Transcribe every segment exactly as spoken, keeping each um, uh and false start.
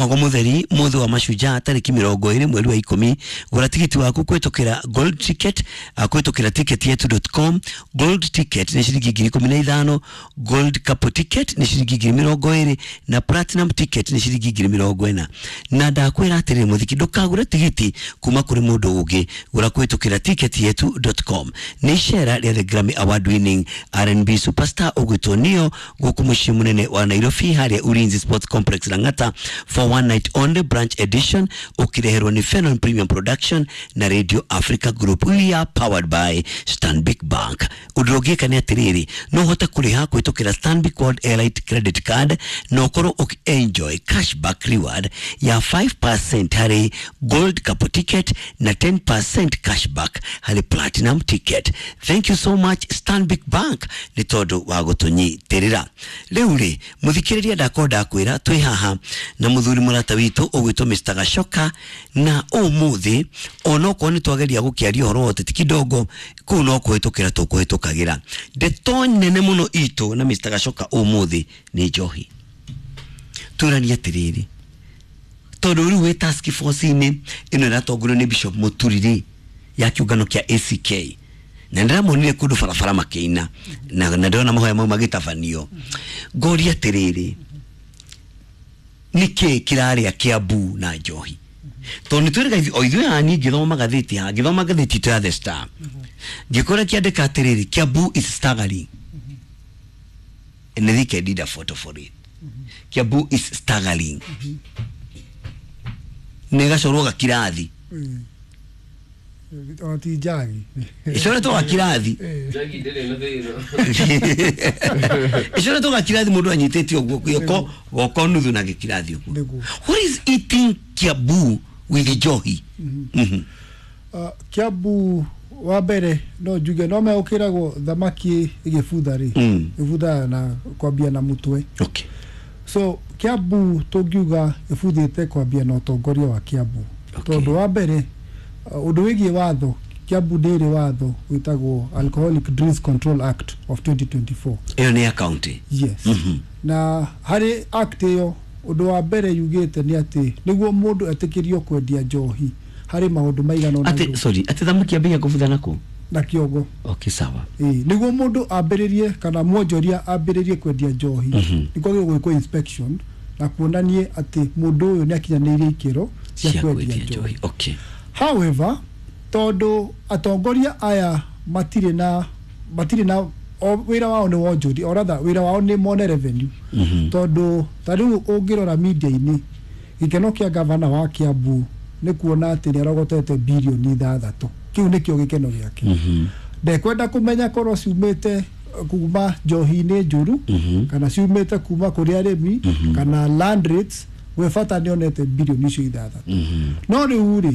Mwago mutheri muthi wa mashujaa tariki mirongo iri mweri wa ikumi. Gura tigiti waku kwitukira gold ticket, uh, kwitukira ticket yetu dot com. Gold ticket ni shilingi ngiri ikumi na ithano, gold couple ticket ni shilingi ngiri mirongo iri na platinum ticket ni shilingi ngiri mirongo ina. Na ndakwira atiri muthiki, ndukagure tigiti kuma kuri mundu ungi, gura kwitukira ticket yetu dot com. Ni icera ria the Grammy Award winning R and B superstar ugwitwo Neo guku mucii munene wa Nairobi haria Ulinzi Sports Complex Lang'ata for one night only branch edition, ukireherwo ni Fenon Premium Production na Radio Africa Group. We are powered by Stanbic Bank. Undu ungiika ni atiriri, no uhote kuriha kwitukira Stanbic World Elite Credit Card na ukorwo uki enjoy cashback reward ya five percent hari gold couple ticket na ten percent cashback hari platinum ticket. Thank you so much Stanbic Bank ni tondu wa gutunyitirira. Riu ri muthikiriria ndakorwo ndakwira twi haha na muthuri murata witu ugwitwo Mister Gachoka, na umuthi onokorwo ni twageria gukiaria uhoro wa uteti kidogo kuu no kuhitukira tukuhitukagira. Ndeto nene muno itu na Mister Gachoka umuthi ni njohi. Turanie atiriri, tondu riu wi task force-ini ino iratongorio ni Bishop Muturiri ya kiungano kia A C K, na ndĩramonire kũndũ barabara makĩina na na ndĩrona mahoya mau magĩtabanio. Ngoria atĩrĩrĩ, nĩkĩ kĩrarĩa Kiambu na njohi? Tondũ nĩ twĩrĩga o ithuĩ haha, niĩ ngĩthoma ngathĩti haha, ngĩthoma ngathĩti itũ ya The Star, ngĩkora kĩandĩka atĩrĩrĩ, Kiambu is staggering. And I think I did a photo for it. Kiambu is staggering. Nĩ gacorwo gakirathi. Ona ti njagi. Icoretwo gakirathi. Njagi ndĩrĩ na thĩna. Icoretwo gakirathi mũndũ anyitĩte ũguo guoko guoko nuthu na gĩkirathi ũguo. Nĩguo. What is eating Kiambu with njohi? Mm-hmm. Uh, Kiambu wa mbere no njuge no megũkĩragwo thamaki ĩgĩbutha rĩ, Mm. ĩbuthaga na kwambia na mũtwe. Okay. So Kiambu tũngiuga ĩbuthĩte kwambia na ũtongoria wa Kiambu. Okay. Tondũ wa mbere, uh, ũndũ wĩgiĩ watho, Kiambu ndĩrĩ watho wĩtagwo Alcoholic Drinks Control Act of twenty twenty-four. Ĩyo nĩ ya county. Yes. Mm-hmm. Na harĩ act ĩyo ũndũ wa mbere yugĩte nĩ atĩ nĩguo mũndũ etĩkĩrio kwendia njohi harĩ maũndũ maigana ũna Atĩ, sorry, atĩ thamaki yambagia kũbutha na kũ? Na kĩongo. Okay, sawa. Ĩĩ, nĩguo mũndũ ambĩrĩrie kana mwonjoria ambĩrĩrie kwendia njohi, mm-hmm. nĩ kwagĩrĩirwo gwĩkwo inspection na kuonanie atĩ mũndũ ũyũ nĩ akinyanĩirie ikĩro cia Cia kwendia kwendia njohi. njohi. Okay. However, tondũ atongoria aya matirĩ na matirĩ na o wĩra wao nĩ wonjoria, or rather wĩra wao nĩ mone revenue. Mm-hmm. Tondũ ta rĩu ũngĩrora media-inĩ, gĩkeno kĩa gavana wa Kiambu nĩ kuona atĩ nĩ arogotete birioni ithathatũ. Kĩu nĩkĩo gĩkeno gĩake. Mm-hmm. Ndekwenda kũmenya korwo ciumĩte kuma njohi-inĩ njũru, mm-hmm. kana ciumĩte kuma kũrĩ arĩmi, mm-hmm. kana land rates, we bata nĩonete birioni icio ithathatũ. Mm-hmm. No rĩu rĩ,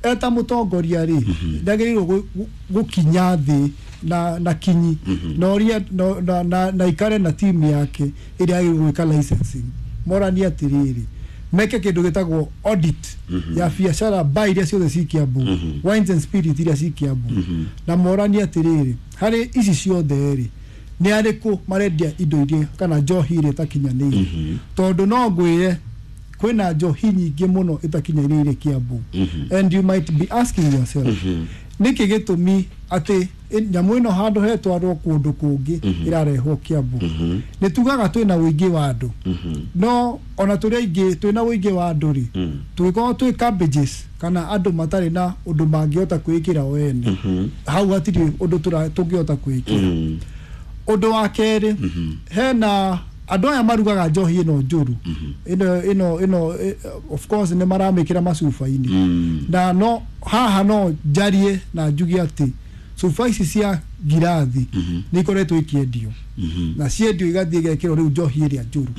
eta mũtongoria rĩ, ndagĩrĩirwo gũkinya thĩ na na kinyi, na ũria na na na ikare na timu yake ĩrĩa agĩrĩirwo gwĩka licensing. Moranie atĩrĩrĩ, meke kĩndũ gĩtagwo audit ya biacara bar iria ciothe ci Kiambu, wines and spirit iria ci Kiambu, na moranie atĩrĩrĩ, harĩ ici ciothe rĩ, nĩ arĩkũ marendia indo iria kana njohi iria ĩtakinyanĩire. Tondũ no ngwĩre kwĩna njohi nyingĩ mũno ĩtakinyanĩire Kiambu. And you might be asking yourself, nĩkĩ gĩtũmi atĩ nyamũ ĩno handũ hetwarwo kũndũ kũngĩ ĩrarehwo Kiambu? Nĩ tugaga twĩna ũingĩ wa andũ, no ona tũrĩ aingĩ twĩna ũingĩ wa andũ rĩ, tũgĩkorwo twĩ cabbages kana andũ matarĩ na ũndũ mangĩhota kwĩĩkĩra o ene, hau hatirĩ ũndũ tũngĩhota kwĩĩkĩra. Ũndũ wa kerĩ, hena andũ aya marugaga njohi ĩno njũru, ĩno ĩno ĩno of course nĩ maramĩkĩra macuba-inĩ, na no haha no njarie na njuge atĩ cuba ici cia ngirathi nĩ ikoretwo ikĩendio, na ciendio igathiĩ igekĩrwo rĩu njohi ĩrĩa njũru.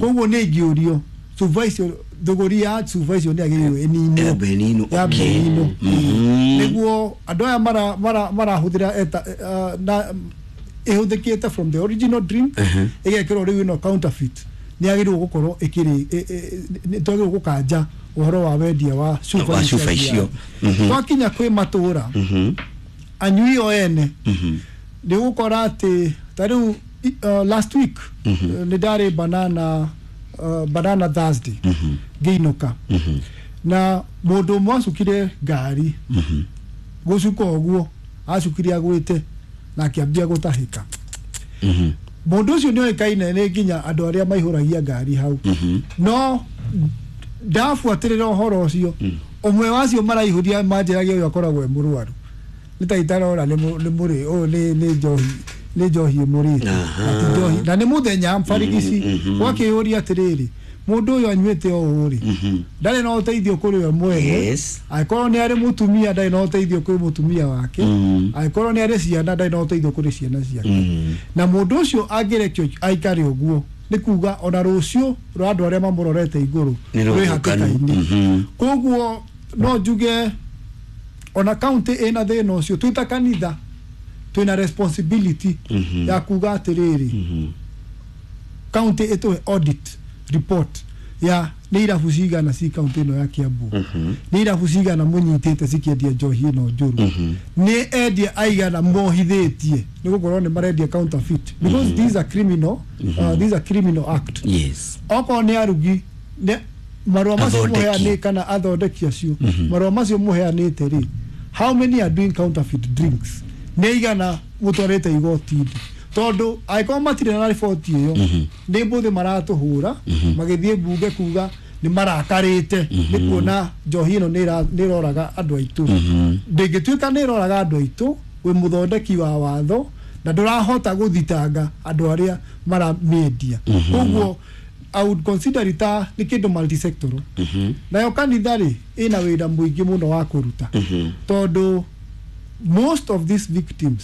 Koguo nĩ ingĩũrio cuba icio, thogori ya cuba icio nĩ yagĩrĩirwo ĩninwo, Yambe ĩninwo, yambe okay. ĩninwo. Mm-hmm. Nĩguo andũ aya mara mara marahũthĩra eta uh, na ĩhũthĩkĩte from the original drink ĩgekĩrwo rĩu ĩno counterfeit, nĩ yagĩrĩirwo gũkorwo ĩkĩrĩ nĩ twagĩrĩirwo gũkanja ũhoro wa wendia wa cuba Wa ici cuba cia icio. ngirathi. Twakinya kwĩ matũra, anyui o ene nĩ ũgũkora atĩ ta rĩu uh, last week nĩ ndarĩ banana uh, Banana Thursday ngĩinũka na mũndũ ũmwe acukire ngari gũcuka ũguo acukire agwĩte na akĩambia gũtahĩka. Mũndũ ũcio nĩ oĩkaine nĩ nginya andũ arĩa maihũragia ngari hau, no ndabuatĩrĩra ũhoro ũcio ũmwe wacio maraihũria manjĩragia ũyũ akoragwo e mũrwaru nĩ ta itarora nĩ mũrĩ ũyũ nĩ nĩ njohi nĩ njohi ĩmũrĩte na ti njohi na nĩ mũthenya barigici. Gwakĩyũria atĩrĩrĩ, mũndũ ũyũ anyuĩte o ũũ rĩ, ndarĩ na ũteithio kũrĩ we mwene. Yes. Angĩkorwo nĩ arĩ mũtumia ndarĩ na ũteithio kũrĩ mũtumia wake, angĩkorwo nĩ arĩ ciana ndarĩ na ũteithio kũrĩ ciana ciake. Na mũndũ ũcio angĩrekio aikare ũguo nĩ kuga ona rũciũ rwa andũ arĩa mamũrorete igũrũ Nĩ rwĩ rũthũkanu. hatĩka-inĩ. Koguo no njuge ona county ĩna thĩna ũcio, twĩ ta kanitha twĩna responsibility ya kuga atĩrĩrĩ, county ĩtũhe audit report ya nĩ irabu cigana ci county ĩno ya Kiambu, nĩ irabu cigana mũnyitĩte cikĩendia njohi ĩno njũru, nĩ endia aigana mohithĩtie nĩ gũkorwo nĩ marendia counterfeit, because these are criminal uh, these are criminal act. Yes. Okorwo nĩ arugi nĩ marũa macio Athondeki. mũheanĩ kana athondeki acio marũa macio mũheanĩte rĩ, how many are doing counterfeit drinks, nĩ igana mũtwarĩte igoti-inĩ? Tondũ angĩkorwo matirĩ na riboti ĩyo nĩ mbũthĩ maratũhũra magĩthiĩ mbunge kuga nĩ marakarĩte nĩ kuona njohi ĩno nĩ ĩra- nĩ ĩroraga andũ aitũ. Ndĩngĩtuĩka nĩ ĩroraga andũ aitũ wĩ mũthondeki wa watho na ndũrahota gũthitanga andũ arĩa maramĩendia. Koguo I would consider it ta nĩ kĩndũ multisectoral. Nayo kanitha rĩ ĩna wĩra mũingĩ mũno wa kũruta, tondũ most of these victims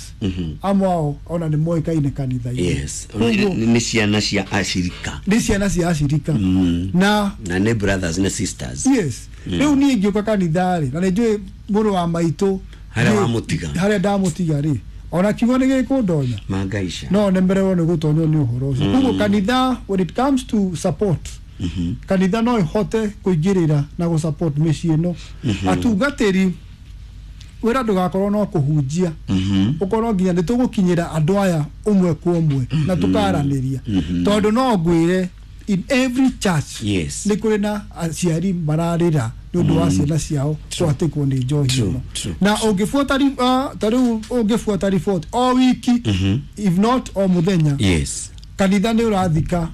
amwe ao ona nĩ moĩkaine kanitha-inĩ. Yes. Koguo nĩ ciana cia acirika. Nĩ ciana cia acirika na na nĩ brothers na sisters. Yes, rĩu niĩ ingĩũka kanitha rĩ na nĩ njũĩ mũrũ wa maitũ Harĩa nĩ- wamũtiga. harĩa ndamũtiga rĩ, ona kiugo nĩ gĩkũndonya mangaica no nemererwo nĩ gũtonywo nĩ ũhoro ũcio. Koguo kanitha, when it comes to support, kanitha no ĩhote kũingĩrĩra na gũ support mĩciĩ ĩno. Atungatĩri wĩra ndũgakorwo no kũhunjia, ũkorwo nginya nĩ tũgũkinyĩra andũ aya ũmwe kwa ũmwe na tũkaranĩria, tondũ no ngwĩre in every church Yes. nĩ kũrĩ na aciari mararĩra nĩ ũndũ wa ciana ciao kwatĩkwo nĩ njohi True, ĩno. true. Na ũngĩbuata ri- ah, ta rĩu ũngĩbuata report o wiki, if not o mũthenya, yes kanitha nĩ ũrathika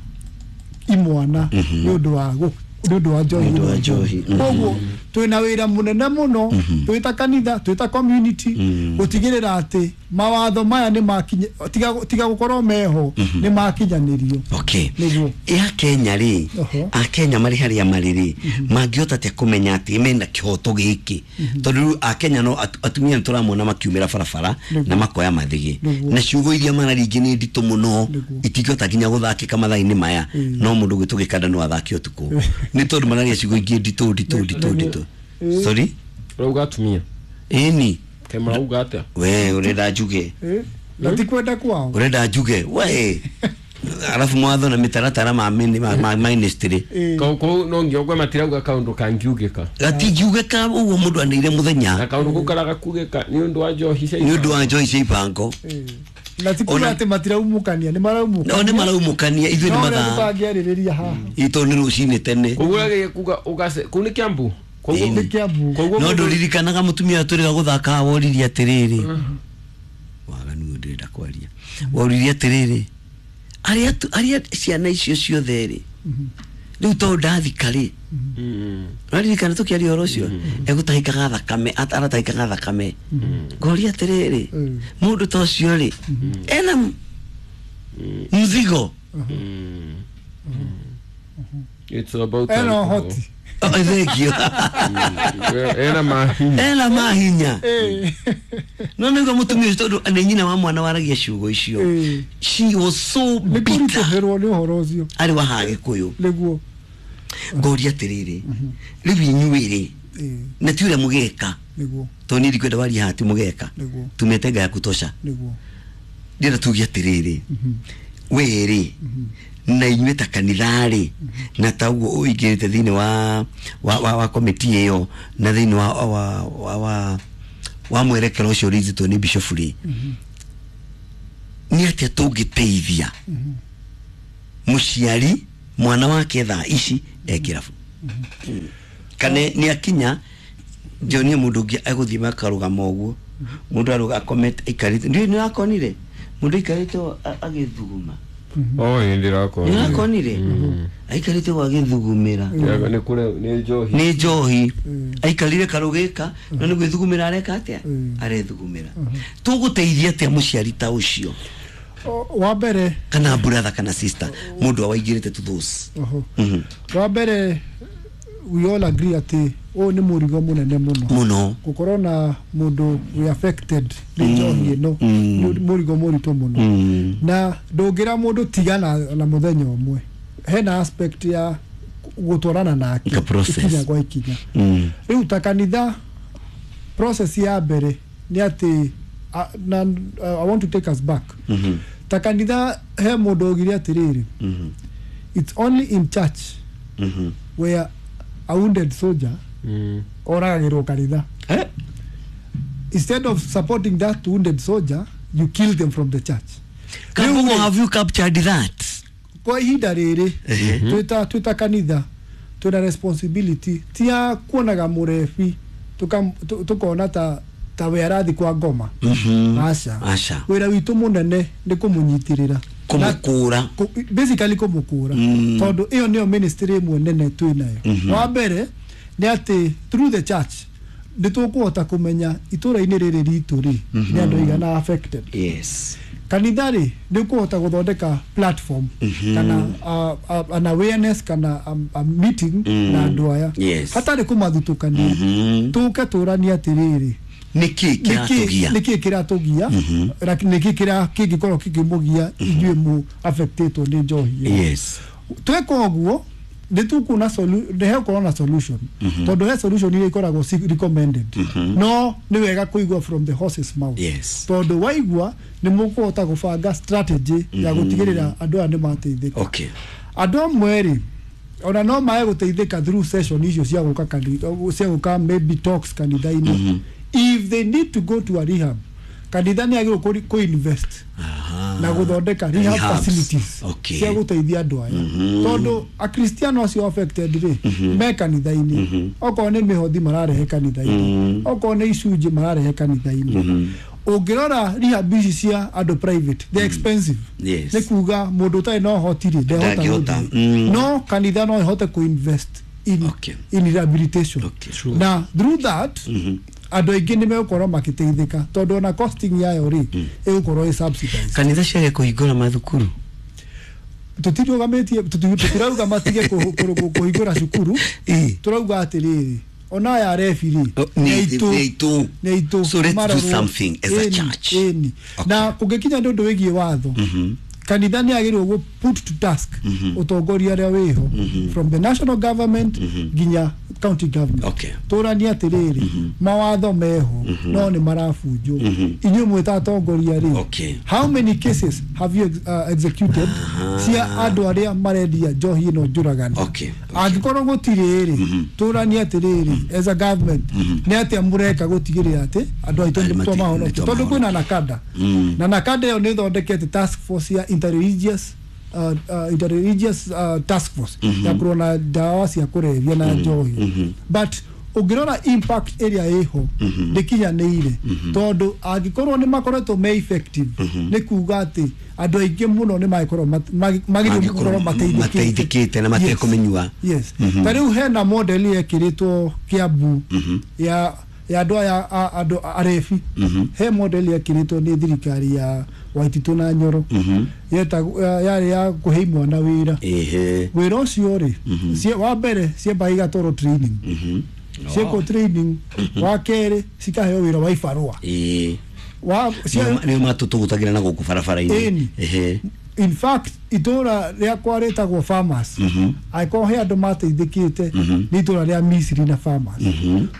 imwana nĩ ũndũ wa gũ- nĩ ũndũ wa njohi Nĩ ũndũ wa ĩno. njohi, mhm. Koguo twĩna wĩra mũnene mũno twĩ ta kanitha, twĩ ta community, gũtigĩrĩra atĩ mawatho maya nĩ makinya, tiga tiga gũkorwo meho nĩ makinyanĩrio. Okay. Nĩguo. Ya Kenya rĩ, Oho. akenya marĩ harĩa marĩ rĩ, mangĩhota atĩa kũmenya atĩ mena kĩhoto gĩkĩ? Tondũ rĩu akenya no atu- atumia nĩ tũramona makiumĩra barabara Nĩguo. na makoya mathĩgĩ Nĩguo. na ciugo iria mararingĩ nĩ nditũ mũno, Nĩguo. itingĩhota nginya gũthakĩka mathaa-inĩ maya. Mm. No mũndũ gwĩtwo gĩkanda no athake ũtukũ nĩ tondũ mararia ciugo ingĩ nditũ nditũ nditũ Nĩguo. nditũ. Eh. Sorry. Ũrauga atumia? Ĩni. Kaĩ marauga atĩa? We ũrenda njuge? Eh, na ti kwenda kwao. Ũrenda njuge we? Arabu mwatho na mĩtaratara ma mini- ma- ma ministry. Eh, Kau kau no nginya ũgue matirauga kaũndũ kangiugĩka. Gatingiugĩka ũguo mũndũ anĩire Na mũthenya. kaũndũ kau karaga kugĩka nĩ ũndũ wa njohi cia Nĩ ũndũ wa njohi cia ibango. eh. Na ti kuga Ona- atĩ matiraumũkania, nĩ maraumũkania. No nĩ maraumũkania, ithuĩ nĩ No ũrĩa mathaa tũtangĩarĩrĩria haha. Itũ nĩ rũcinĩ tene. Koguo ũragĩria kuga ũgace kũu nĩ Kiambu. Koguo Ĩni. Nĩ Kiambu. Koguo No mũndũ- ndũririkanaga mũtumia tũrĩga gũthaka woririe atĩrĩrĩ, waganu ũyũ ndĩrenda kwaria, woririe atĩrĩrĩ, arĩa tu- arĩa ciana icio ciothe rĩ, rĩu tondũ ndathika rĩ, Mm. ũraririkana tũkĩaria ũhoro ũcio egũtahĩkaga thakame, at- aratahĩkaga thakame, ngoria atĩrĩrĩ, Mm. mũndũ ta ũcio rĩ ena m- mzigo. Mm. It's about Ena alcohol. ũhoti. Oh, thank you. Ena mahinya. Ena mahinya. Eh. No nĩguo mũtumia ũcio, tondũ nĩ nyina wa mwana waragia ciugo icio, Eh. she was so Nĩ bitter. kũritũhĩrwo nĩ ũhoro ũcio. Arĩ wa haha gĩkũyũ. Nĩguo. Ngoria atĩrĩrĩ, rĩu inyuĩ rĩ, Eh, na ti ũrĩa mũgeka, nĩguo. tondũ niĩ ndikwenda waria haha ti mũgeka. Nĩguo. Tumete ya kutosha. Nĩguo. Ndĩrenda tuge atĩrĩrĩ, we rĩ na inyuĩ ta kanitha rĩ, na ta ũguo ũingĩrĩte thĩinĩ wa wa wa, wa komiti ĩyo na thĩinĩ wa wa wa, wa, wa mwerekero ũcio ũrĩithĩtwo nĩ bishop rĩ, nĩ atĩa tũngĩteithia mũciari Mwana wake thaa ici e kĩrabu kana nĩ akinya njonie mũndũ ũngĩ egũthiĩ makarũgama ũguo mũndũ arũga akomete aikarĩte ndiũĩ nĩ wakonire mũndũ aikarĩte ũũ a- agĩthuguma. Oh, ĩ ndĩrakonire. Nĩ wakonire aikarĩte ũguo agĩthugumĩra. Nĩ kũre nĩ njohi. Nĩ njohi aikarire karũgĩka no nĩ gwĩthugumĩra areka atĩa Mm. arethugumĩra. Tũgũteithia atĩa mũciari ta ũcio O- wa mbere kana brother kana sister mũndũ awaingĩrĩte to those? Oho. Mhm. Wa mbere, we all agree atĩ ũyũ nĩ mũrigo mũnene mũno mũno gũkorwo na mũndũ wĩ affected nĩ njohi ĩno. Mm. Nĩ mũrigo mũritũ mũno Mm. na ndũngĩra mũndũ tigana na mũthenya ũmwe. Hena aspect ya gũtwarana nake Ka process. ikinya kwa ikinya. Mm. Rĩu ta kanitha, process ya mbere nĩ atĩ a- na uh, I want to take us back. Mhm. Ta kanitha he mũndũ augire atĩrĩrĩ, Mhm. it's only in church Mhm. where a wounded soldier Mm. oragagĩrwo kanitha. Eh? Instead of supporting that wounded soldier, you kill them from the church. Kambugo, Rĩu rĩ, have you captured that? Kwa ihinda rĩrĩ Ehe. twĩta twĩta kanitha twĩna responsibility ti ya kuonaga mũrebi tuka- tu- tukona ta ta we arathi kwa ngoma. Mhm. Aca. Aca. Wĩra witũ mũnene nĩ kũmũnyitĩrĩra. Kũmũkũra. Kũ- basically kũmũkũra Mm. tondũ ĩyo nĩyo ministry ĩmwe nene twĩ nayo. Wa mbere nĩ atĩ through the church nĩ tũkũhota kũmenya itũra-inĩ rĩrĩ ritũ rĩ nĩ andũ aigana affected. Yes. Kanitha rĩ nĩ ũkũhota gũthondeka platform kana uh, uh, an awareness kana a, a meeting Mm. na andũ aya Yes. hatarĩ kũmathutũkania. Mhm. Tũke tũranie atĩrĩrĩ, nĩkĩ kĩratũgia? nĩkĩ kĩratũgia na nĩkĩ kĩra kĩngĩkorwo kĩngĩmũgia inyuĩ mũ affectĩtwo nĩ njohi ĩno. Yes. Tweka ũguo nĩ tũkuona solu- nĩ hegũkorwo na solution tondũ he solution iria ikoragwo ci recommended, no nĩ wega kũigua from the horse's mouth Yes. tondũ waigua nĩ mũkũhota gũbanga strategy ya gũtigĩrĩra andũ aya nĩ mateithĩka. Okay. Andũ amwe rĩ ona no mae gũteithĩka through session icio cia gũka kanitha, cia gũka maybe talks kanitha-inĩ. If they need to go to a rehab, kanitha nĩ agĩrĩirwo kũ- kũ-invest Aha. na gũthondeka rehab Rehabs. facilities Okay. cia gũteithia andũ aya tondũ akristiano acio affected rĩ me kanitha-inĩ, okorwo nĩ mĩhothi mararehe kanitha-inĩ, okorwo nĩ icunjĩ mararehe kanitha-inĩ. Ũngĩrora rehab ici cia andũ private, they expensive. Yes. Nĩ kuga mũndũ ũtarĩ na ũhoti rĩ ndehota Ndangĩhota. gũthiĩ. Mm. No kanitha no ĩhote kũ-invest in, Okay. in rehabilitation Okay. na through that andũ aingĩ nĩ megũkorwo makĩteithĩka tondũ ona costing yayo rĩ ĩgũkorwo ĩ subsidized. Kanitha ciage kũhingũra mathukuru. Tũtirũgamĩtie, tũtirauga matige kũ- kũ- kũhingũra cukuru. Ĩ. Tũrauga atĩrĩrĩ, ona aya arebi rĩ Oh, nĩ- nĩ aitũ. nĩ aitũ. Nĩ aitũ. So let's do Marorwo. something as a Ĩni, church. ĩni. Okay. Na kũngĩkinya nĩ ũndũ wĩgiĩ watho, kanitha nĩ agĩrĩirwo gũ put to task ũtongoria ũrĩa wĩho from the national government nginya county government. Okay. Tũranie atĩrĩrĩ, mawatho meho no nĩ marabunjwo, inyuĩ mwĩta atongoria rĩ, Okay. how many cases have you ex- uh, executed cia andũ arĩa marendia njohi ĩno njũragani? Okay, okay. Angĩkorwo gũtirĩ rĩ, tũranie atĩrĩrĩ, as a government nĩ atĩa mũreka gũtigĩrĩra atĩ andũ aitũ Arĩ nĩ mati- twamahonokia nĩ tondũ kwĩna twamahonokia. nakada Mm. na nakada ĩyo nĩ ĩthondekete task force ya interreligious uh, uh, interreligious uh, task force ya kũrũa na ndawa cia kũrebia na njohi, but ũngĩrora impact ĩrĩa ĩho ndĩkinyanĩire tondũ angĩkorwo nĩ makoretwo me effective nĩ kuga atĩ andũ aingĩ mũno nĩ magĩkorwo mat- magi- magĩrĩirwo gũkorwo mateithĩkĩte. Mateithĩkĩte na matekũmĩnyua. Yes, ta rĩu hena model yekĩrĩtwo Kiambu ya ya andũ aya a- andũ arebi. He model yekĩrĩtwo nĩ thirikari ya Waititũ na Nyoro yetagwo ya- yarĩ ya kũhe imwana wĩra. Ehe. Wĩra ũcio rĩ cie- wa mbere ciambaga igatwarwo training, ciekwo training, wa kerĩ cikaheo wĩra wa ibarũa. Ĩĩ. Wa cia- Nĩo matũtũgũtagĩra na gũkũ barabara-inĩ. Ĩni. Ehe. In fact, itũra rĩakwa rĩtagwo farmers. Angĩkorwo he andũ mateithĩkĩte nĩ itũra rĩa Misiri na farmers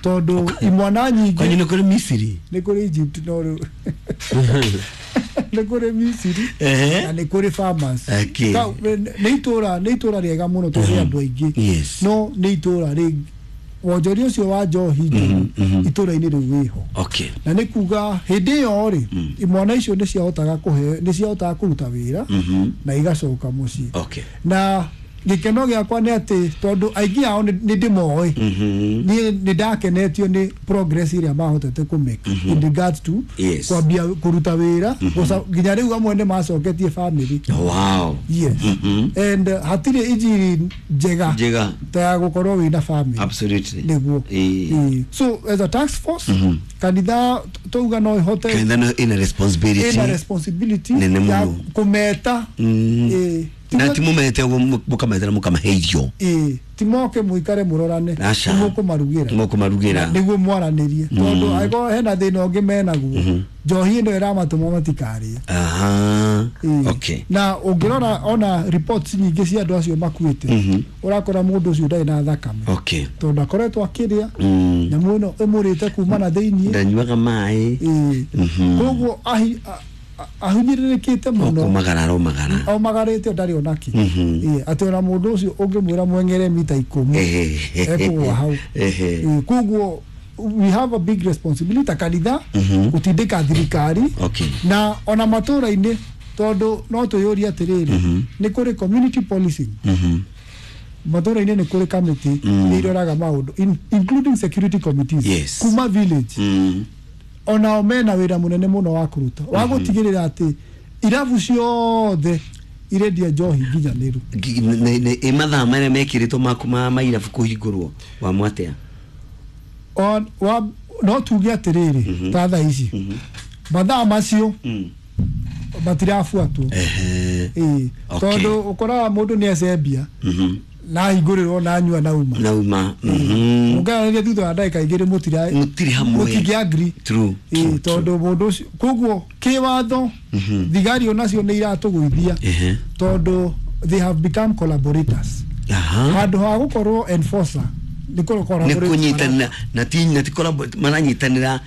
tondũ imwana Kwanyu nyingĩ. nĩ kũrĩ Misiri? Nĩ kũrĩ Egypt, no rĩu nĩ kũrĩ Misiri Ehe. na nĩ kũrĩ farmers. Okay. Ka- nĩ itũra nĩ itũra rĩega mũno tondũ rĩ andũ aingĩ. Yes. No nĩ itũra rĩ wonjoria ũcio wa njohi njũru itũra-inĩ rĩu wĩho. Okay. Na nĩ kuga hĩndĩ ĩyo rĩ imwana icio nĩ ciahotaga kũhe nĩ ciahotaga kũruta wĩra na igacoka mũciĩ. Okay. Na Gĩkeno gĩakwa nĩ atĩ tondũ aingĩ ao nĩ nĩ ndĩmoĩ, niĩ nĩ ndakenetio nĩ progress ĩrĩa mahotete kũmake in regards to Yes. kwambia kũruta wĩra gũca- nginya rĩu amwe nĩ macoketie family. Wow. Yes, and uh, hatirĩ injiri njega Njega. ta ya gũkorwo wĩna family. Absolutely. Nĩguo. Ĩĩ. Ĩĩ. So as a task force, kanitha tauga no ihote Kanitha no ina responsibility ĩna responsibility nene ya mũno. kũmeta. Ĩĩ. Na ti mumete ũguo mũkametera mũkamahe irio. Ĩĩ, ti moke mũikare mũrorane. Aca. Mũkũmarugĩra. Mũkũmarugĩra. Nĩguo mwaranĩrie, tondũ angĩkorwo hena thĩna ũngĩ menaguo, njohi ĩno ĩramatũma matikarĩe. Aha. Ĩĩ. Okay. Na ũngĩrora ona reports nyingĩ cia andũ acio makuĩte, ũrakora mũndũ ũcio ndarĩ na thakame, Okay. tondũ akoretwo akĩrĩa Mm. nyamũ ĩno ĩmũrĩte kuma na thĩiniĩ. Ndanyuaga maĩ. Ĩĩ. Koguo ahi- a- a- ahinyĩrĩrĩkĩte mũno. Kũmagara aromagara. Omagarĩte ndarĩ onakĩ. Ĩĩ, atĩ ona mũndũ ũcio ũngĩmwĩra mweng'ere mita ikũmi, ekũgũa hau. Ehe. Ĩĩ, koguo we have a big responsibility ta kanitha gũtindĩka thirikari Okay. na ona matũra-inĩ, tondũ no twĩyũrie atĩrĩrĩ, nĩ kũrĩ community policing matũra-inĩ, nĩ kũrĩ kamĩtĩ iria iroraga maũndũ in, including security committees Yes. kuma village. Mm. Onao mena wĩra mũnene mũno wa kũruta wa gũtigĩrĩra atĩ irabu ciothe irendia njohi nginyanĩru. Gi- nĩ- nĩ- ĩ mathaa marĩa mekĩrĩtwo maku ma mairabu kũhingũrwo wamũ atĩa? On- wa- no tuge atĩrĩrĩ, ta thaa ici mathaa macio matirabuatwo. Ehe. Ĩĩ. Okay. Tondũ ũkoraga mũndũ nĩ ecembia na ahingũrĩrwo na anyua na uma. Nauma. Mhm. Mũngĩaranĩria thutha wa ndagĩka igĩrĩ, mũtira Mũtirĩ hamwe. Mũtingĩ agree. True, Ĩĩ, true, true. tondũ mũndũ ũcio koguo kĩwatho thigari onacio nĩ iratũgũithia, Ehe. tondũ they have become collaborators Aha. handũ ha gũkorwo enforcer nĩ kũ nĩ collaborate. kũnyitanĩra na ti na ti collabo- maranyitanĩra.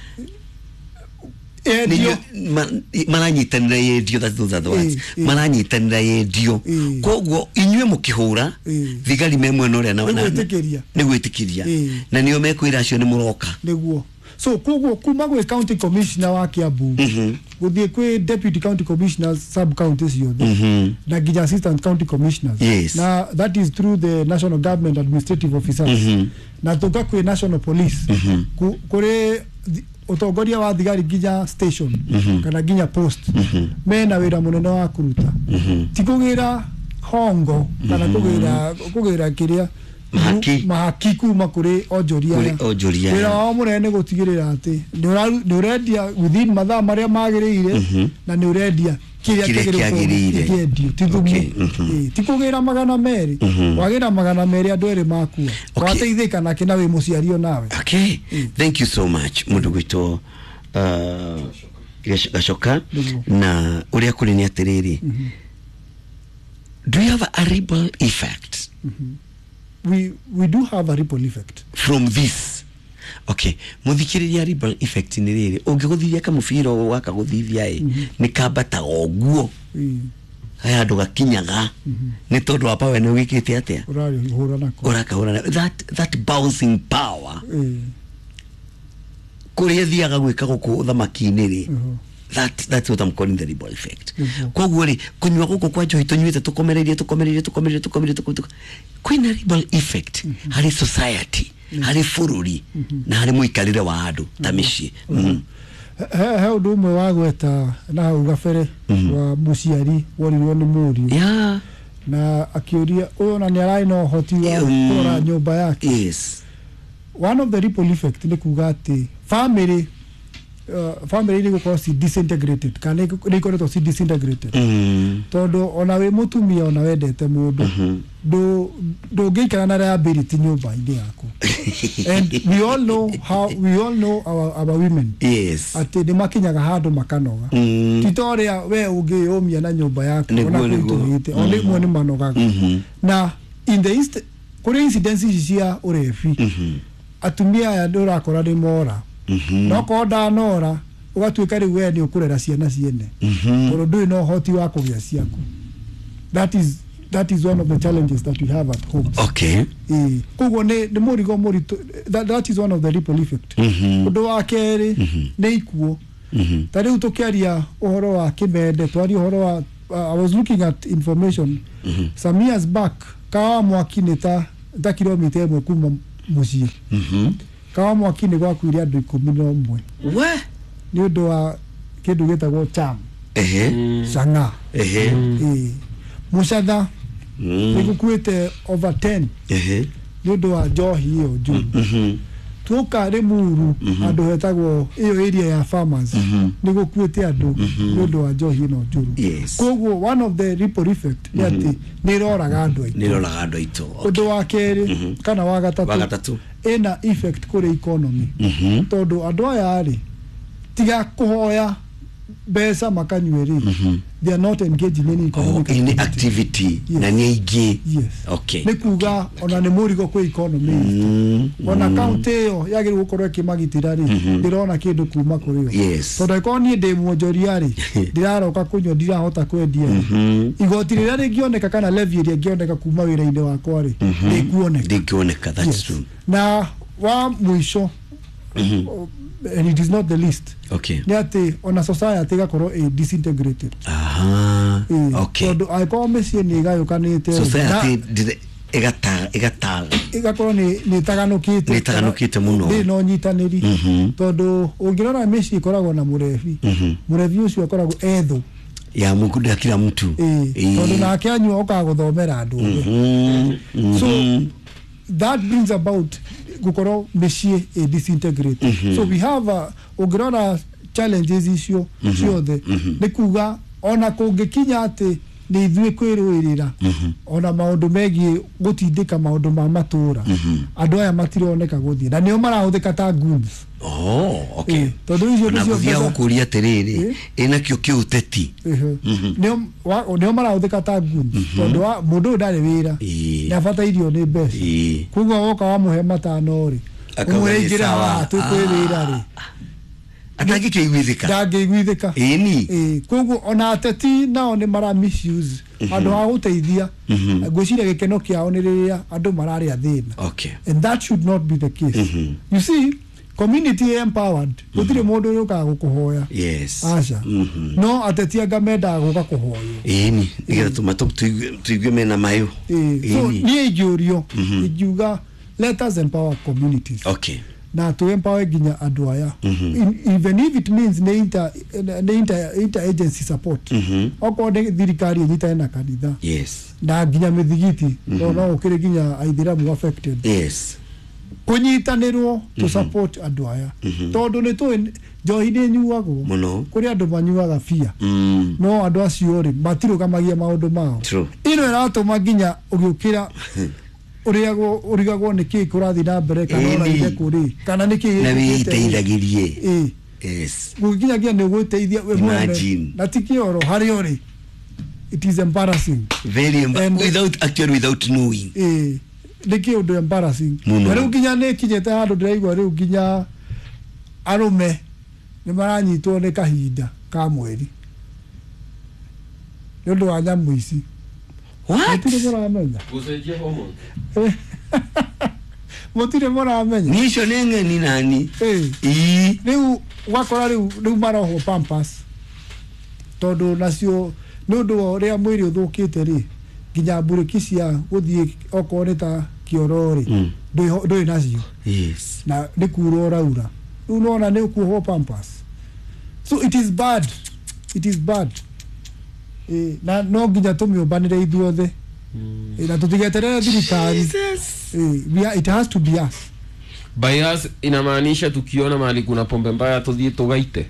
Endio. Nĩ- ma- maranyitanĩra yendio, that's those are the words. Ĩ, ĩ. Maranyitanĩra yendio. Ĩ. Koguo inyuĩ mũkĩhũra Ĩ. thigari me mwena ũrĩa na- Nĩ na- gwĩtĩkĩria. nĩ gwĩtĩkĩria. Ĩ. Na nĩo mekwĩra acio nĩ mũroka. Nĩguo. So koguo kuma gwĩ county commissioner wa Kiambu gũthiĩ kwĩ deputy county commissioners sub county ciothe na nginya assistant county commissioners, Yes. na that is through the national government administrative officers, na tũka kwĩ national police, Ku- kũrĩ thi- ũtongoria wa thigari nginya station kana nginya post, mena wĩra mũnene wa kũruta, ti kũgĩra hongo kana kũgĩra kũgĩra kĩrĩa Mahaki. Mahaki kuma kũrĩ onjoria Kũrĩ aya. onjoria aya. Wĩra wao mũnene nĩ gũtigĩrĩra atĩ nĩ ũraru- nĩ ũrendia within mathaa marĩa magĩrĩire na nĩ ũrendia kĩrĩa Kĩrĩa kĩagĩrĩire kĩagĩrĩire. kĩendio, ti thumu. Okay, mhm. Ĩĩ, ti kũgĩra magana merĩ, wagĩra magana merĩ andũ erĩ makua. Okay. Wateithĩka nake na wĩ mũciari onawe. Okay, thank you so much, mundu gwitwo uh, Gac- gacoka. Nĩguo. Na ũrĩa kũrĩ nĩ atĩrĩrĩ, do you have a ripple effect? we, we do have a ripple effect. From this, okay, muthikĩrĩria, ripple effect nĩ rĩrĩ, ũngĩgũthithia kamũbira ũũ wakagũthithia ĩ nĩ kambataga ũguo. Ĩĩ, he handũ gakinyaga nĩ tondũ wa power nĩ wĩkĩte atĩa? Ũrarĩhũra nako. Ũrakahũra that, that bouncing power. Ĩĩ, Kũrĩa thiaga gwĩka gũkũ ũthamaki-inĩ rĩ, Mhm. that, that's what I'm calling the ripple effect. Nĩguo. Koguo rĩ, kũnyua gũkũ kwa njohi tũnyuĩte tũkomereirie tũkomereirie tũkomereirie tũkomereirie tũkomereirie, kwĩna ripple effect harĩ society, harĩ bũrũri na harĩ mũikarĩre wa andũ ta mĩciĩ. Mm. he he ũndũ ũmwe wa gweta na hau gabere wa mũciari worirwo nĩ mũriũ yeah na akĩũria ũyũ ona nĩ ararĩ na ũhoti wa Mm. kũrora nyũmba yake. Yes one of the ripple effect nĩ kuga atĩ family uh, family nĩ gũkorwo ci disintegrated kana nĩ ikoretwo ci disintegrated, mm. tondũ ona wĩ mũtumia ona wendete mũndũ, ndũ- ndũngĩikara na liability nyũmba-inĩ yaku, and we all know how we all know our, our women, yes atĩ nĩ makinyaga handũ makanoga. Mm. Ti ta ũrĩa we ũngĩyũmia na nyũmba yaku. Nĩguo, ona nĩguo. kũritũhĩte o rĩmwe nĩ manogaga. Mhm. Na in the inst kũrĩ incidents ici cia ũrebi, atumia aya nĩ ũrakora nĩ mora, no korwo ndanora ũgatuĩka rĩu we nĩ ũkũrera ciana ciene tondũ ndũrĩ na ũhoti wa kũgĩa ciaku. that is that is one of the challenges that we have at home. Okay Ĩĩ, koguo nĩ nĩ mũrigo mũritũ. that, that is one of the ripple effect. Mhm. Ũndũ wa kerĩ nĩ ikuũ. Ta rĩu tũkĩaria ũhoro wa kĩmende, twaria ũhoro wa uh, I was looking at information some years back. Kawa Mwaki nĩ ta ta kilomita ĩmwe kuma mũciĩ. Mhm. Kawa Mwaki nĩ gwakuire andũ ikũmi na ũmwe We. nĩ ũndũ wa kĩndũ gĩtagwo cham Ehe. chang'aa. Ehe. Ĩĩ. Mũcatha Mm. nĩ gũkuĩte over ten Ehe. nĩ ũndũ wa njohi ĩyo njũru. Mhm. Tuoka Limuru handũ hetagwo ĩyo area ya farmers Mhm. nĩ gũkuĩte andũ nĩ ũndũ wa njohi ĩno njũru. Yes. Koguo one of the ripple effect nĩ atĩ nĩ ĩroraga andũ aitũ. Nĩ ĩroraga andũ aitũ. Okay. Ũndũ wa kerĩ kana wa Wa gatatũ, gatatũ. ĩna effect kũrĩ economy, Mhm. tondũ andũ aya rĩ, tiga kũhoya mbeca makanyue rĩ, they are not engaged in any Oh, economic any activity. activity Yes. na nĩ aingĩ. Yes. Okay. Nĩ kuga ona nĩ mũrigo kwĩ economy itũ. Mm. Ona kaunti ĩyo yagĩrĩirwo gũkorwo ĩkĩmagitĩra rĩ, ndĩrona kĩndũ kuma kũrĩ yo. Yes. Tondũ angĩkorwo niĩ ndĩ mwonjoria rĩ, ndĩraroka kũnyua, ndirahota kwendia rĩ, Mhm. igoti rĩrĩa rĩngĩoneka kana levy ĩrĩa ĩngĩoneka kuma wĩra-inĩ wakwa rĩ, ndĩkuoneka. Ndĩngĩoneka, that's Yes. true. Na wa mũico, and it is not the least, Okay. nĩ atĩ ona society ĩgakorwo ĩ disintegrated. Aha. Ĩĩ, Okay. tondũ angĩkorwo mĩciĩ nĩ ĩgayũkanĩte rĩ, Society na ndire- ĩgata ĩgata ĩgakorwo nĩ nĩ ĩtaganũkĩte. Nĩ ĩtaganũkĩte mũno. Ndĩrĩ na ũnyitanĩri, Mhm. tondũ ũngĩrora mĩciĩ ĩkoragwo na mũrebi. Mhm. Mũrebi ũcio akoragwo ethũ ya Mungu ya kila mtu. Ĩĩ, Ĩĩ. tondũ nake anyua okaga gũthomera andũ othe. Mhm. Mhm. So that brings about gũkorwo mĩciĩ ĩ disintegrated. So we have a, ũngĩrora challenges icio ciothe, nĩ kuga ona kũngĩkinya atĩ nĩ ithuĩ kwĩrũĩrĩra, ona maũndũ megiĩ gũtindĩka maũndũ ma matũũra, andũ aya matironeka gũthiĩ na nĩo marahũthĩka ta goons. Oh, okay. Ĩĩ, tondũ icio Na nĩcio gũthiaga mbeca- gũkũria atĩrĩrĩ, Ĩĩ. ĩnakĩo kĩũteti. Ĩhĩ. Nĩo wa- nĩo marahũthĩka ta goons, tondũ wa- mũndũ ũyũ ndarĩ wĩra, Ĩĩ. nĩ abatairio nĩ mbeca. Ĩĩ. Koguo woka wamũhe matano rĩ, Akauga ũmwĩre nĩ ingĩra sawa. haha twĩ wĩra rĩ, Atangĩkĩiguithĩka. Ndangĩiguithĩka. Ĩni. Ĩĩ, koguo ona ateti nao nĩ mara misuse handũ ha gũteithia. Ngwĩciria gĩkeno kĩao nĩ rĩrĩa andũ mararĩa thĩna, Okay. and that should not be the case. You see, community empowered, gũtirĩ mũndũ ũrĩũkaga gũkũhoya. Yes. Aca. Mhm. No ateti anga mendaga gũka kũhoywo. Ĩni, nĩgetha tũma tũigue tũigue mena mayũ. Ĩĩ, so Ĩni. niĩ ingĩũrio, ingiuga let us empower communities Okay. na tũ empower nginya andũ aya. In- even if it means nĩ inter, nĩ inter, inter agency support, Mhm. okorwo nĩ thirikari ĩnyitane na kanitha Yes. na nginya mĩthigiti, tondũ no gũkĩrĩ nginya aithĩramu affected, Yes. kũnyitanĩrwo to support andũ aya, tondũ nĩ tũĩ njohi nĩ ĩnyuagwo. Mũno. Kũrĩ andũ manyuaga bia, Mm. no andũ acio rĩ, matirũgamagia maũndũ mao. True. Ĩno ĩratũma nginya ũgĩũkĩra ũrĩagwo, ũrigagwo nĩ kĩĩ kũrathiĩ na mbere, kana Ĩni. ũraire kũrĩ, kana nĩ kĩĩ Na gĩkĩkĩte rĩ. wĩiteithagĩrie. Ĩĩ. Yes. Gũkinyagia nĩ ũgwĩteithia we mwene. Imagine. Na ti kĩoro harĩa ũrĩ, it is embarrassing. Very emba- And- without actually without knowing. Ĩĩ, nĩ kĩũndũ embarrassing. Mũno. Na rĩu nginya nĩ ĩkinyĩte handũ ndĩraigua rĩu nginya arũme nĩ maranyitwo nĩ kahinda ka mweri nĩ ũndũ wa nyamũ ici. What? Mũtirĩ mũramenya. Gũcenjia hormones. Mũtirĩ mũramenya. Niĩ icio nĩ ng'eni nani. Ĩĩ. Ĩĩ. Rĩu ũgakora rĩu rĩu marohwo pampers, tondũ nacio nĩ ũndũ wa ũrĩa mwĩrĩ ũthũkĩte rĩ, nginya mburĩki cia gũthiĩ okorwo nĩ ta kĩoro rĩ, Mm. ndwĩ ndũrĩ nacio. Yes. Na nĩ kura ũraura, rĩu nona nĩ ũkuohwo pampers. So it is bad, it is bad. Ĩ, na no nginya tũmĩũmbanĩre ithuothe. Ĩ, na tũtigeterere thirikari. Jesus. Ĩ, we are, it has to be us. By us inamaanisha tukiona mahali kuna pombe mbaya tuthiĩ tugaite?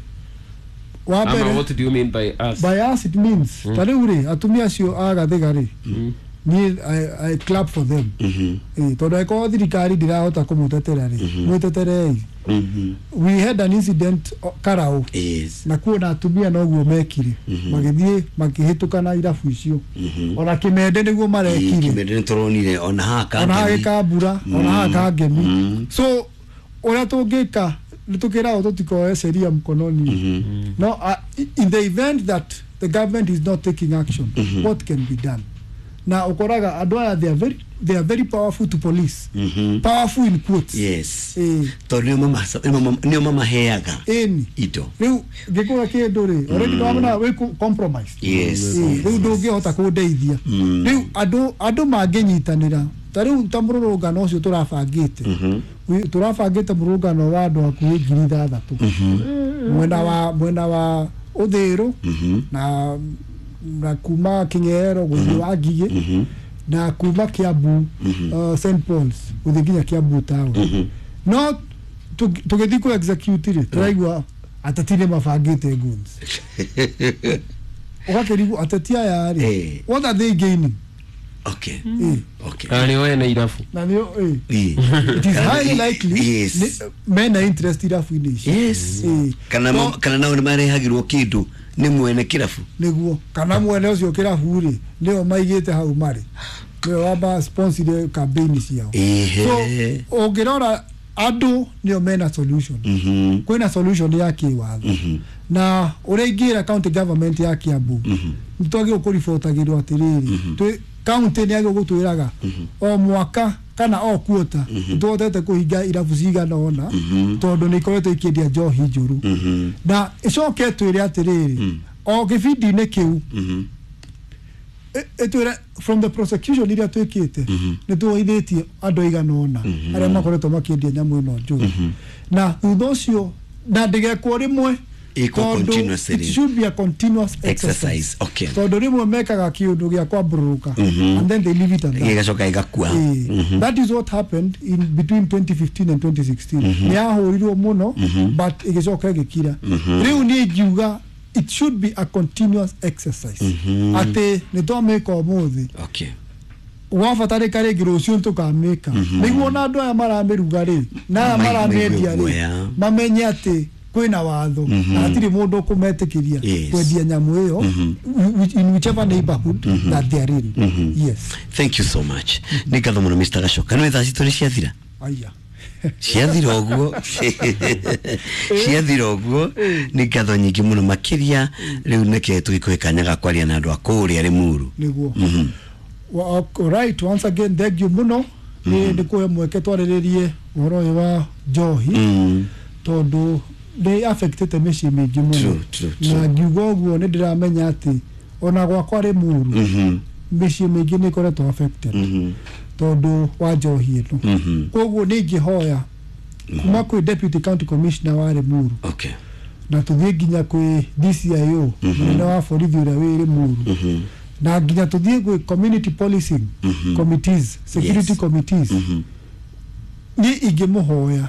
Wa Ama mbere, what do you mean by us? By us it means, ta rĩu rĩ, atumia acio a Gathiga rĩ, Mm. niĩ I, I clap for them. Mhm. Ĩ, tondũ angĩkorwo thirikari ndĩrahota kũmũtetera rĩ, mwĩteterei. Mhm. We had an incident o, Karau, Yes. na kuona atumia noguo mekire, magĩthiĩ makĩhĩtũka na irabu icio. Ona Kĩmende nĩguo marekire. Kĩmende nĩ tũronire ona haha Ona haha Kangemi. Gĩkambura, ona haha Kangemi. Mm. So ũrĩa tũngĩka nĩ tũkĩragwo tũtikoe sheria mkononi. Mhm. No, uh, in the event that the government is not taking action, what can be done? Na ũkoraga andũ aya, they are very, they are very powerful to police. Mhm. Powerful in quotes. Yes. Ĩĩ. Tondũ nĩo mama- nĩo nĩo mamaheaga Ĩni. indo. Rĩu ngĩkũra kĩndũ rĩ, already nĩwamona wĩ ku- compromised. Yes. Ĩĩ, rĩu ndũngĩhota kũndeithia. Rĩu andũ andũ mangĩnyitanĩra, ta rĩu ta mũrũrũngano ũcio tũrabangĩte, Wi- tũrabangĩte mũrũrũngano wa andũ hakuhĩ ngiri ithathatũ, mwena wa mwena wa Ũthĩrũ na na kuma Kĩng'ero gũthiĩ wa Ngigĩ, na kuma Kiambu, uh, Saint Paul's gũthiĩ nginya Kiambu town. No tũgĩ- tũgĩthiĩ kũ execute rĩ, tũraigua ateti nĩ mabangĩte guns. Ũgakĩrigwo ateti aya rĩ, Eh. what are they gaining? Okay. Eh, Okay. Na nĩo ene irabu. Na nĩo eh, Ĩĩ. it is highly likely Yes. nĩ- mena interest irabu-inĩ ici. Yes. Eh. Kana No- ma- kana nao nĩ marehagĩrwo kĩndũ nĩ mwene kĩrabu. Nĩguo, kana mwene ũcio kĩrabu rĩ, nĩo maigĩte hau marĩ, nĩo wamba sponsor campaign ciao. Ehe. So ũngĩrora, andũ nĩo mena solution. Mhm. Kwĩna solution ya kĩwatho, na ũrĩa ingĩra county government ya Kiambu, nĩ twagĩrĩirwo kũribotagĩrwo atĩrĩrĩ, twĩ county nĩ yagĩrĩirwo gũtwĩraga o mwaka kana o quarter nĩ tũhotete kũhinga irabu cigana ũna, tondũ nĩ ikoretwo ikĩendia njohi njũru. Na ĩcoke ĩtwĩre atĩrĩrĩ, o gĩbindi-inĩ kĩu Mhm. ĩ- ĩtwĩre from the prosecution iria twĩkĩte, nĩ tuoithĩtie andũ aigana ũna arĩa makoretwo makĩendia nyamũ ĩno njũru. Na thutha ũcio na ndĩgekwo rĩmwe, Ĩkwo tondũ continuously. it should be a continuous exercise. Exercise, okay. Tondũ rĩmwe mekaga kĩũndũ gĩa kwambũrũrũka and then they leave it at that. Gĩgacoka gĩgakua. Eh, that is what happened in between twenty fifteen and twenty sixteen. Nĩ yahũrirwo mũno, but ĩgĩcoka ĩgĩkira. Rĩu niĩ ingiuga it should be a continuous exercise, atĩ nĩ twamĩka ũmũthĩ, Okay. wabatarĩka rĩngĩ rũciũ nĩtũkamĩka, nĩguo na andũ aya maramĩruga rĩ, na aya Ma- maramĩendia maigue rĩ, guoya. Mamenye atĩ kwĩna watho na hatirĩ mũndũ ũkũmetĩkĩria Yes. kwendia nyamũ ĩyo whi- in whichever neighborhood that they are in. Yes. Thank you so much. Nĩ ngatho mũno, Mister Gacoka. Nĩ thaa citũ nĩ ciathira. Aya. Ciathira ũguo, ciathira ũguo. Nĩ ngatho nyingĩ mũno makĩria. Rĩu nĩke tũgĩkũhe kanya ga kwaria na andũ a kũrĩa Rĩmuru. Nĩguo. Well, all right, once again, thank you mũno nĩ nĩ kũhe mweke twarĩrĩrie ũhoro ũyũ wa njohi, Mm. tondũ nĩ affectĩte mĩciĩ mĩingĩ mũno. True, true, true. Na ngiuga ũguo, nĩ ndĩramenya atĩ ona gwakwa Rĩmuru, Mhm. mĩciĩ mĩingĩ nĩ ĩkoretwo affected Mhm. tondũ wa njohi ĩno. Mhm. Koguo nĩ ingĩhoya kuma kwĩ deputy county commissioner wa Rĩmuru, Okay. na tũthiĩ nginya kwĩ D C I O, mũnene wa borithi ũrĩa wĩ Rĩmuru, Mhm. na nginya tũthiĩ gwĩ community policing committees, security Yes. committees, Mhm. niĩ ingĩmũhoya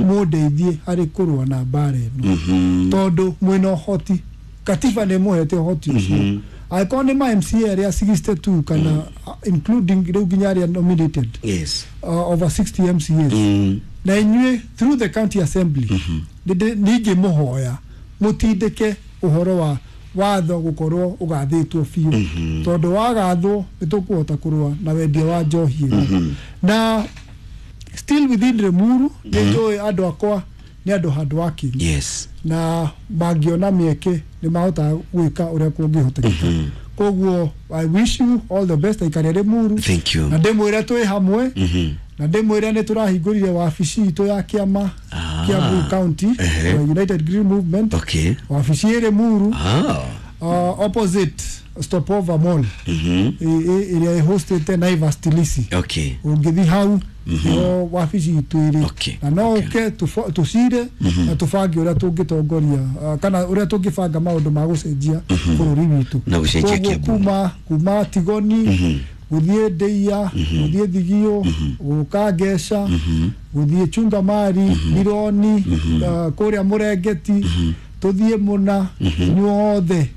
mũndeithie harĩ kũrũa na mbara ĩno, Mhm. tondũ mwĩna ũhoti, katiba nĩ mũhete ũhoti ũcio. Angĩkorwo nĩ ma M C A arĩa sixty-two, kana uh, including rĩu nginya arĩa nominated, Yes. uh, over sixty M C As, Mm. na inyuĩ through the county assembly, nĩ ingĩmũhoya mũtindĩke ũhoro wa watho gũkorwo ũgathĩtwo biũ, tondũ wagathwo nĩ tũkũhota kũrũa na wendia wa njohi ĩno. Na still within Limuru, nĩ njũĩ andũ akwa nĩ andũ hard working, Yes. na mangĩona mĩeke nĩ mahotaga gwĩka ũrĩa kũngĩhotekeka. Koguo I wish you all the best, aikari a Limuru. Thank you. Na ndĩmwĩre twĩ hamwe, Mhm. na ndĩmwĩre nĩ tũrahingũrire wabici itũ ya kĩama Ah. Kiambu County, Ehe. United Green Movement, Okay. wabici ĩ Limuru, Ah. uh, opposite Stopover Mall, Mhm. ĩ- ĩ- ĩrĩa ĩhostĩte Naivas Tilisi. Okay. Ũngĩthi hau nĩho wabici itũ ĩrĩ. Okay, Na no okay. ũke tũfo- tũcire na tũbange ũrĩa tũngĩtongoria, uh, kana ũrĩa tũngĩbanga maũndũ ma gũcenjia bũrũri witũ. Na gũcenjia Koguo Kiambu. kuma kuma Tigoni, gũthiĩ Ndĩia, gũthiĩ Thigio, gũka Ngeca, gũthiĩ Chungamari, Mironi, uh, kũrĩa Mũrengeti, tũthiĩ mũna, inyuothe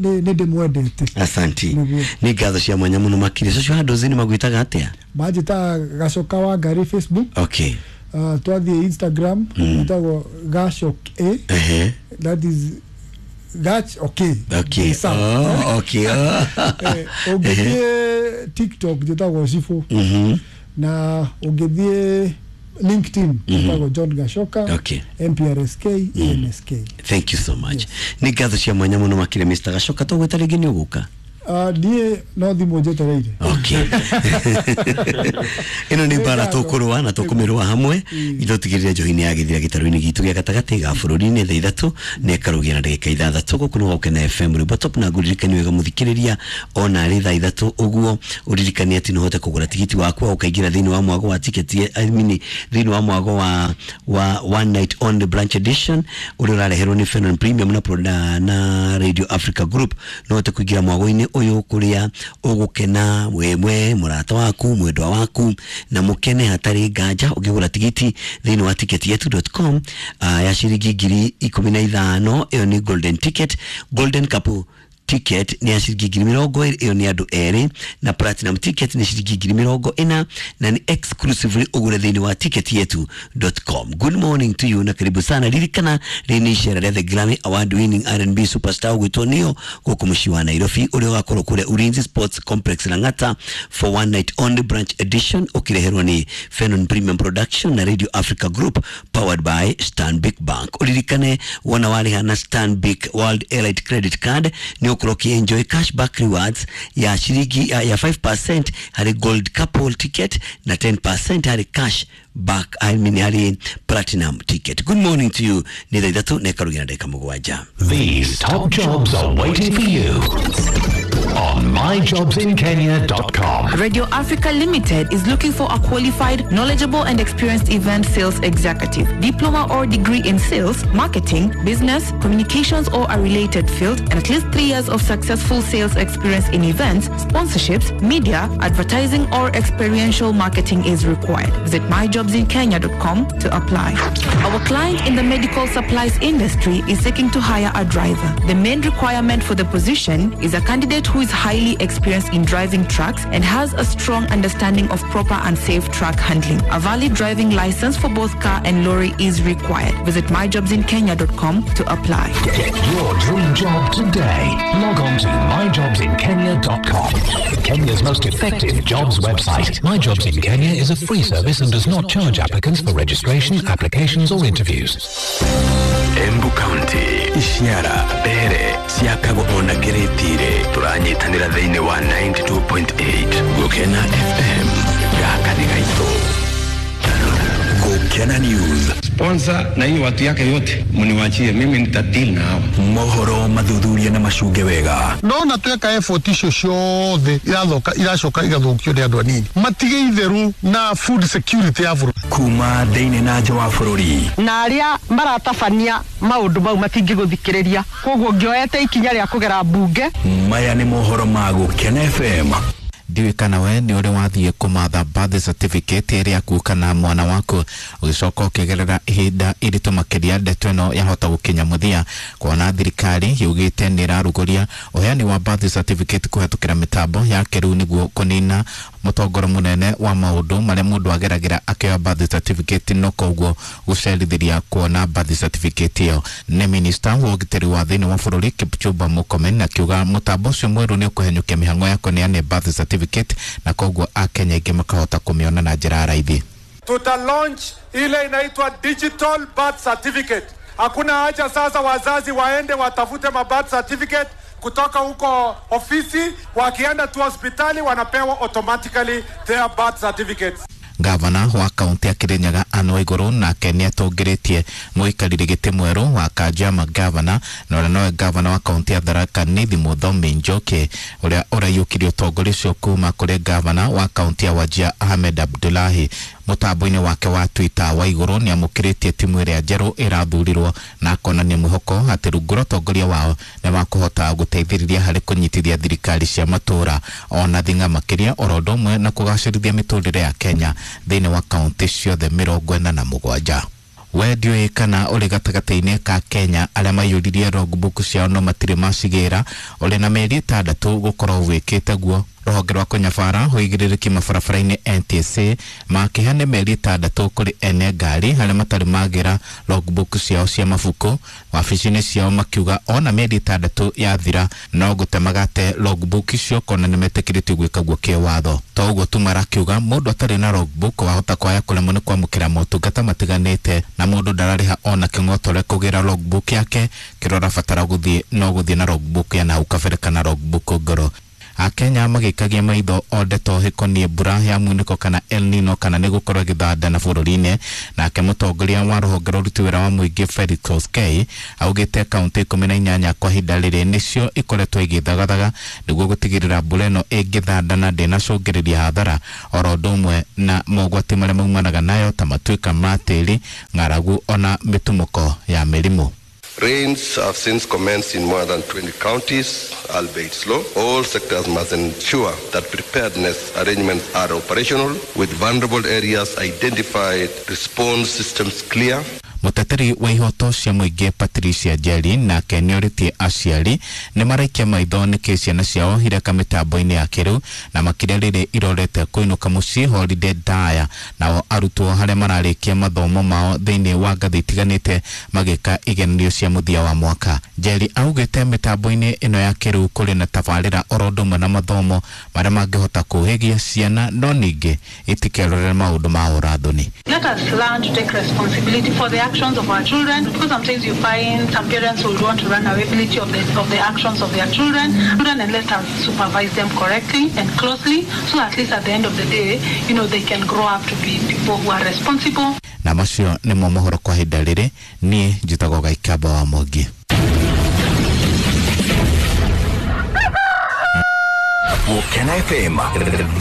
nĩ nĩ ndĩmwendete. Asanti. Nĩguo. Nĩ ngatho cia mwanya mũno makĩria. Social handles nĩ magwĩtaga atĩa? Manjĩtaga Gacoka wa Ngari Facebook. Okay. uh, twathiĩ Instagram ĩtagwo Gacok A. Ehe. That is Gach, okay. Okay. Sawa. Oh, okay. Oh. Eh, ũngĩthiĩ TikTok njĩtagwo Cibũ, Mhm. na ũngĩthiĩ LinkedIn njĩtagwo John Gacoka, Okay. M P R S K A N S K. Thank you so much. Nĩ ngatho cia mwanya mũno makĩria, Mister Gacoka. Tũgwĩta rĩngĩ nĩ ũgũka. Niĩ no thimũ njetereire. Okay, ĩno nĩ mbara tũkũrũa na tũkũmĩrũa hamwe itũtigĩrĩre njohi nĩ yagĩthira gĩtarũ-inĩ gitũ gĩa gatagatĩ ga bũrũri-inĩ. Thaa ithatũ nĩ ĩkarũgia na ndagĩka ithathatũ. Gũkũ nĩ Gũkena F M rwĩmbo top, na ngũririkani wega mũthikĩrĩria ona arĩ thaa ithatũ ũguo ũririkanie atĩ no ũhote kũgũra tigiti waku ũkaingĩra thĩinĩ wa mwago wa tiketi, I mean, thĩinĩ wa mwago wa wa one night on the branch edition ũrĩa ũrareherwo nĩ Fenon Premium na, na, na Radio Africa Group. No ũhote kũingĩra mwago-inĩ ũyũ kũrĩa ũgũkena wemwe mũrata waku mwendwa waku na mũkene hatarĩ nganja ũngĩgũra tigiti thĩinĩ wa ticket yetu dot com uh, ya ciringi ngiri ikũmi na ithano. Ĩyo nĩ golden ticket. Golden couple ticket ni ya ciringi ngiri mĩrongo ĩrĩ, ĩyo nĩ andũ erĩ, na platinum ticket ni ciringi ngiri mĩrongo ĩna na ni exclusively ũgũre thĩinĩ wa ticket yetu dot com. Good morning to you na karibu sana. Ririkana rĩrĩ nĩ icera rĩa the Grammy Award winning R and B superstar ũgwĩtwo Neo gũkũ mũciĩ wa Nairobi ũrĩa ũgakorwo kũrĩa Ulinzi Sports Complex Lang'ata for one night only branch edition ũkĩreherwo nĩ Fenon Premium Production na Radio Africa Group powered by Stanbic Bank. Ũririkane wona warĩha na Stanbic World Elite Credit Card nĩ ũgũkorwo ũkĩ-enjoy cashback rewards ya ciringi ya, ya five percent harĩ gold couple ticket na ten percent harĩ cash back, I mean harĩ platinum ticket. Good morning to you. Nĩ thaa ithatũ na ĩkarugia na ndagĩka mũgwanja. These top jobs are waiting for you on my jobs in kenya dot com. Radio Africa Limited is looking for a qualified, knowledgeable and experienced event sales executive, diploma or degree in sales, marketing, business, communications or a related field, and at least three years of successful sales experience in events, sponsorships, media, advertising or experiential marketing is required. Visit my jobs in kenya dot com to apply. Our client in the medical supplies industry is seeking to hire a driver. The main requirement for the position is a candidate who is highly experienced in driving trucks and has a strong understanding of proper and safe truck handling. A valid driving license for both car and lorry is required. Visit my jobs in kenya dot com to apply. Get your dream job today. Log on to my jobs in kenya dot com. Kenya's most effective jobs website. My Jobs in Kenya is a free service and does not charge applicants for registration, applications or interviews. Embu County, Ishiara, Mbere, Siakago ona Kiritire, turanyitanĩra thĩinĩ wa ninety-two point eight Gũkena F M. Gaka nĩ gaitũ. Gũkena News. Sponsor na hiyo watu yake yote mniwachie mimi, nitadeal na hao. Mohoro mathuthuria na macunge wega. Ndona tweka effort icio ciothe irathoka iracoka igathũkio nĩ andũ anini. Matige itheru na food security ya bũrũri. Kuma thĩinĩ na nja wa bũrũri. Na arĩa maratabania maũndũ mau matingĩgũthikĩrĩria. Koguo ngĩoete ikinya rĩa kũgera mbunge. Maya nĩ mohoro ma Gũkena F M. Ndiũĩ kana we nĩ ũrĩ wathiĩ kũmatha birth certificate ĩrĩa yaku kana mwana waku ũgĩcoka ũkĩgerera ihinda iritũ makĩria ndeto ĩno yahota gũkinya mũthia kuona thirikari yugĩte nĩ ĩrarugũria ũheani wa birth certificate kũhetũkĩra mĩtambo ya kĩrĩu nĩguo kũnina mũtongoro mũnene wa maũndũ marĩa mũndũ ageragĩra akĩoya birth certificate no koguo gũcerithĩria kuona birth certificate ĩyo. Nĩ minista wa ũgitĩri wa thĩinĩ wa bũrũri Kipchumba Murkomen akiuga mũtambo ũcio mwerũ nĩ ũkũhenyũkia mĩhang'o ya kũneana birth certificate na koguo Akenya aingĩ makahota kũmĩona na njĩra ya raithi. Tuta launch ile inaitwa digital birth certificate. Hakuna haja sasa wazazi waende watafute ma birth certificate kutoka huko ofisi, wakienda tu hospitali wanapewa automatically their birth certificates. Gavana wa kaunti ya Kirinyaga Anne Waiguru nake nĩ atũngĩrĩtie mũikarĩri gĩtĩ mwerũ wa Kanjama gavana na ũrĩa nowe gavana wa kaunti ya Tharaka Nithi Muthomi Njoki ũrĩa ũraiyũkirie ũtongoria ũcio kuma kũrĩ gavana wa kaunti ya Wajir Ahmed Abdullahi. Mũtambo-inĩ wake wa Twitter Waiguru nĩ amũkĩrĩtie timu ĩrĩa njerũ ĩrathurirwo na akonania mwĩhoko atĩ rungu rwa ũtongoria wao nĩ makũhota gũteithĩrĩria harĩ kũnyitithia thirikari cia matũũra ona thing'a makĩria oro ũndũ ũmwe na kũgacĩrithia mĩtũrĩre ya Kenya thĩinĩ wa kaunti ciothe mĩrongo ĩna na mũgwanja. We ndiũĩ kana ũrĩ gatagatĩ-inĩ ka Kenya arĩa maiyũririe logbook ciao no matirĩ macigĩra ũrĩ na mĩeri ĩtandatũ gũkorwo wĩkĩte guo. Rũhonge rwa kũnyabara ũigĩrĩrĩki mabarabara-inĩ N T S A makĩheana mĩeri ĩtandatũ kũrĩ ene ngari arĩa matarĩ magĩra logbook ciao cia mabuku wabici-inĩ ciao makiuga ona mĩeri ĩtandatũ yathira no gũte magate logbook icio kona nĩ metĩkĩrĩtio gwĩka guo kĩwatho. To ũguo tu marakiuga mũndũ atarĩ na logbook wahota kwaya kũremwo nĩ kwamũkĩra motungata matiganĩte na mũndũ ndararĩha ona kĩng'otore kũgĩra logbook yake kĩrĩa ũrabatara gũthiĩ no gũthiĩ na logbook ya nahau kabere kana logbook ngoro. Akenya magĩikagia maitho o ndeto hĩkoniĩ mbura ya munĩko kana El Nino kana nĩ gũkorwo ĩgĩthandana bũrũri-inĩ. Nake mũtongoria wa rũhonge rwa ũruti wĩra wa mũingĩ Felix Koskei augĩte kaunti ikũmi na inyanya kwa ihinda rĩrĩ nĩcio ikoretwo igĩthagathaga nĩguo gũtigĩrĩra mbura ĩno ĩngĩthandana ndĩnacũngĩrĩria hathara oro ũndũ ũmwe na mogwati marĩa maumanaga nayo ta matuĩka ma tĩri, ng'aragu ona mĩtumũko ya mĩrimũ. Rains have since commenced in more than twenty counties, albeit slow. All sectors must ensure that preparedness arrangements are operational, with vulnerable areas identified, response systems clear. Mũteteri wa ihoto cia mũingĩ Patricia Njeri nake nĩorĩtie aciari nĩ maraikia maitho nĩkĩ ciana ciao ireka mĩtambo-inĩ ya kĩrĩu na makĩria rĩrĩ irorete kũinũka mũciĩ holiday ndaya, nao arutwo harĩa mararĩkia mathomo mao thĩinĩ wa ngathĩ itiganĩte magĩka igeranio cia mũthia wa mwaka. Njeri augĩte mĩtambo-inĩ ĩno ya kĩrĩu kũrĩ na tabarĩra oro ũndũ ũmwe na mathomo marĩa mangĩhota kũhĩgia ciana no ningĩ itikerorere maũndũ ma ũrathoni. Let us learn to take responsibility for the actions of our children, because sometimes you find some parents will want to run away of the, of the actions of their children, and let us supervise them correctly and closely, so at least at the end of the day, you know, they can grow up to be people who are responsible. Na macio nĩmo mohoro kwa ihinda rĩrĩ. Niĩ njĩtagwo Gaikamba wa Mwangi. Gũkena F M.